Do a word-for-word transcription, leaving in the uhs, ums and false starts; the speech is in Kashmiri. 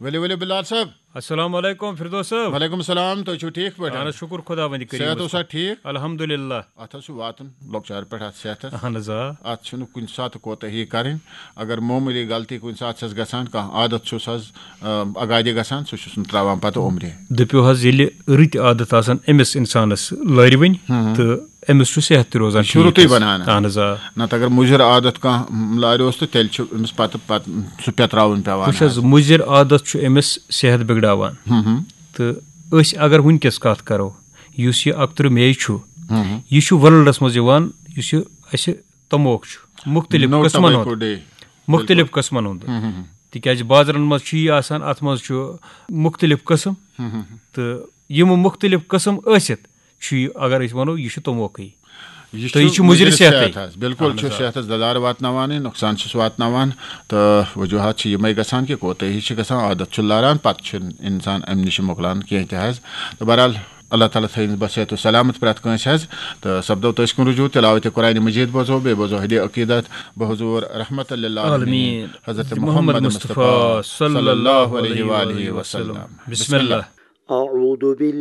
ؤلِو ؤلِو بلال صٲب۔ السلام علیکم فردوس صٲب۔ وعلیکم السلام، تُہۍ چھِو ٹھیٖک پٲٹھۍ؟ اہن حظ، شُکر خدا وندِ کریٖمس صحت اوسا پٮ۪ٹھ۔ ٹھیٖک؟ الحمدللہ۔ اتھ حظ چھُ واتُن لۄکچار پٮ۪ٹھ اتھ صحتس۔ اہن حظ آ۔ اتھ چھُنہٕ کُنہِ ساتہٕ کوتٲہی کرٕنۍ۔ اگر معموٗلی غلطی کُنہِ ساتہٕ چھس گژھان، کانٛہہ عادت چھُس حظ آ، اگادِ گژھان، سُہ چھُس نہٕ تراوان پتہٕ عمرِ۔ دٔپِو حظ، ییٚلہِ رٕتۍ عادت آسن أمِس انسانس لٲرِوٕنۍ، تہٕ أمِس چھُ صحت تہِ روزان چھُ رُتُے ٹھیٖک حظ۔ بنان۔ اہن حظ آ۔ نتہٕ اگر مُضر عادت کانٛہہ لاریوس تہٕ تیٚلہِ چھُ أمِس پتہٕ پتہٕ سُہ پٮ۪تراوُن پٮ۪وان وٕچھ حظ، حظ۔ مُضر عادت چھُ أمِس صحت بِگڑاوان۔ تہٕ أسۍ اگر وٕنکیٚس کتھ کرو، یُس یہِ اکترٕہ مے چھُ، یہِ چھُ ورلڈس منٛز یِوان، یُس یہِ اسہِ تموک چھُ مُختٔلِف No قٕسمن tobacco ہُنٛد۔ day۔ مُختٔلِف قٕسمن ہُنٛد۔ تِکیازِ بازرن منٛز چھُ یہِ آسان، اتھ منٛز چھُ مُختٔلِف قٕسم۔ تہٕ یِم مُختٔلِف قٕسم ٲسِتھ چھُ یہِ، اگر أسۍ ونو، یہِ چھُ تموکٕے۔ تہٕ یہِ چھُ مُضر صحتٕے۔ حظ۔ بالکل چھُ صحتس دَلار واتناوان، نۄقصان چھُس واتناوان۔ تہٕ وجوہات چھِ یِمے گژھان کہِ کوتٲہی چھِ گژھان، عادت چھُ لاران، پتہٕ چھُنہٕ انسان امہِ نِش مۄکلان کینٛہہ تہِ حظ۔ تہٕ بہرحال، اللہ تعالیٰ تھٲیِن بصحت و سلامت پرٛٮ۪تھ کٲنٛسہِ حظ۔ تہٕ سپدو تٔسۍ کُن رجوع، تلاوت قرآن مجید بوزو، بیٚیہِ بوزو ہدی عقیدت بحضور رحمت للعالمین حضرت محمد مصطفیٰ صلی اللہ علیہ وآلہ وسلم۔ بسم اللہ۔ أعوذ بالله